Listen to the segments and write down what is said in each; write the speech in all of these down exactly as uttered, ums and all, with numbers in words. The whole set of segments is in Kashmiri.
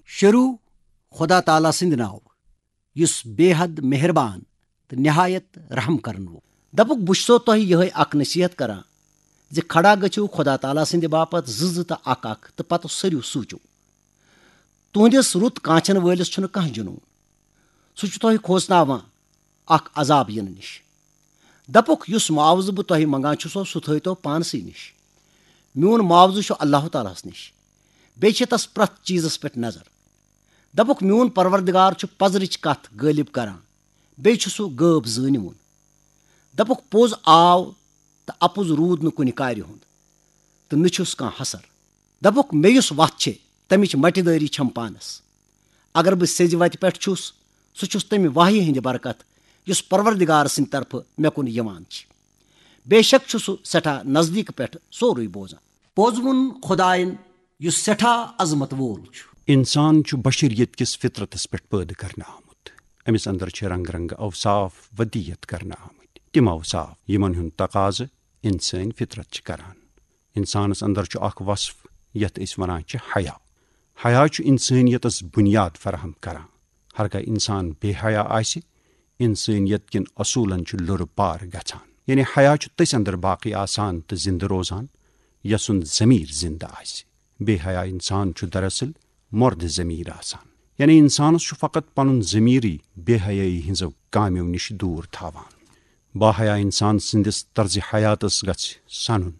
شروع خدا تعالیٰ سٕنٛدِ ناوٕ، یُس بے حد مہربان تہٕ نہایت رحم کرن وول۔ دپُکھ، بہٕ چھُسو تۄہہِ یِہے اکھ نصیحت کران زِ کھڑا گٔژھِو خدا تعالیٰ سٕنٛدِ باپتھ زٕ زٕ تہٕ اکھ اکھ، تہٕ پتہٕ سٔرِو سوٗنٛچِو۔ تُہنٛدِس رُت کانچھن وٲلِس چھُنہٕ کانٛہہ جنون۔ سُہ چھُ تۄہہِ کھوژناوان اکھ عذاب یِنہٕ نِش۔ دپُکھ، یُس معاوضہٕ بہٕ تۄہہِ منگان چھُسو، سُہ تھٲوتو پانسٕے نِش۔ میون معاوضہٕ چھُ اللہ تعالیٰ ہس نِش۔ بیٚیہِ چھِ تس پرٛٮ۪تھ چیٖزس پٮ۪ٹھ نظر۔ دپُکھ، میون پروردگار چھُ پزرٕچ کتھ غٲلب کران، بیٚیہِ چھُ سُہ غٲب زٲنِوُن۔ دپُکھ، پوٚز آو تہٕ اپُز روٗد نہٕ کُنہِ کارِ ہُنٛد، تہٕ نہٕ چھُس کانٛہہ حسر۔ دپُکھ، مےٚ یُس وتھ چھے، تمِچ مٹہِ دٲری چھم پانس۔ اگر بہٕ سیٚزِ وتہِ پٮ۪ٹھ چھُس، سُہ چھُس تمہِ وحی ہٕنٛدِ برکت، یُس پروردگار سٕنٛدِ طرفہٕ مےٚ کُن یِوان چھِ۔ بے شک چھُ سُہ سٮ۪ٹھاہ نزدیٖک پٮ۪ٹھ سورُے بوزان۔ پوٚز ووٚن خدایَن، یُس سٮ۪ٹھاہ عظمت وول چھُ۔ انسان چھُ بشریت کِس فطرتس پٮ۪ٹھ پٲدٕ کرنہٕ آمُت۔ أمِس اندر چھِ رنگ رنگ اوصاف ودیت کرنہٕ آمٕتۍ۔ تِم اوصاف، یِمن ہُنٛد تقاضہٕ انسٲنۍ فطرت چھِ کران۔ انسانس اندر چھُ اکھ وصف، یتھ أسۍ ونان چھِ حیا۔ حیا چھُ انسٲنیتس بنیاد فراہم کران۔ ہرگاہ انسان بے حیا آسہِ، انسٲنیت کٮ۪ن اصوٗلن چھُ لُرٕ پار گژھان۔ یعنی حیا چھُ تٔسۍ اندر باقی آسان تہٕ زندٕ روزان، یسُنٛد ضمیر زندٕ آسہِ۔ بے حیا انسان چھُ دراصل مردِ ضمیر آسان۔ یعنی انسانس چھُ فقط پنُن ضمیرٕے بے حیٲیی ہٕنٛزو کامیو نِش دوٗر تھاوان۔ باحیا انسان سٕنٛدِس طرزِ حیاتس گژھِ سنُن۔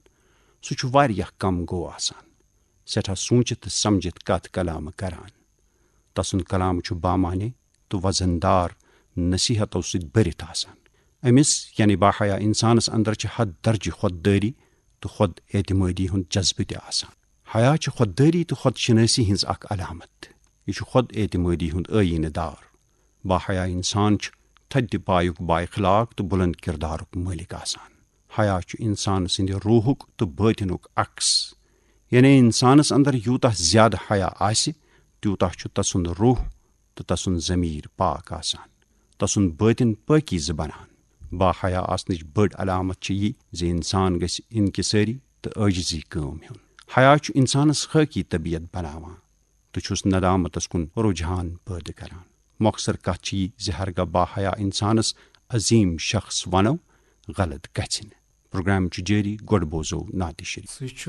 سُہ چھُ واریاہ کم گوٚو آسان، سٮ۪ٹھاہ سوٗنچِتھ تہٕ سمجھِتھ کتھ کلامہٕ کران۔ تسُنٛد کلام چھُ بامعنی تہٕ وزن دار نصیحتو سۭتۍ بٔرِتھ آسان۔ أمِس، یعنی باحیا انسانس اندر چھِ حد درجہِ خۄد دٲری تہٕ خۄد اعتمٲدی ہُنٛد جذبہٕ تہِ آسان۔ حیا چھِ خۄد دٲری تہٕ خۄد شنٲسی ہٕنٛز اکھ علامت۔ یہِ چھُ خۄد اعتمٲدی ہُنٛد ٲیٖنہٕ دار۔ باحیا انسان چھُ تھدِ پایُک بااخلاق تہٕ بلند کردارُک مٲلِک آسان۔ حیا چھُ انسان سٕنٛدِ روحُک تہٕ بٲطنُک عکس۔ یعنی انسانس اندر یوٗتاہ زیادٕ حیا آسہِ، تیوٗتاہ چھُ تسُنٛد روح تہٕ تسُنٛد ضمیر پاک آسان۔ تسُنٛد بٲطن پٲکیزٕ بنان۔ باحیا آسنٕچ بٔڑ علامت چھِ یہِ زِ انسان گژھِ انکسٲری تہٕ عٲجزی کٲم ہیوٚن۔ حیا چھُ انسانس خٲکی طبیعت بناوان تہٕ چھُس ندامتس کُن رجحان پٲدٕ کران۔ مۄخصر کتھ چھِ یہِ زِ ہرگاہ باحیا انسانس عظیم شخص ونو، غلط گژھِ نہٕ۔ پروگرام چھُ جٲری، گۄڈٕ بوزو نعتِ شریف۔ سُہ چھُ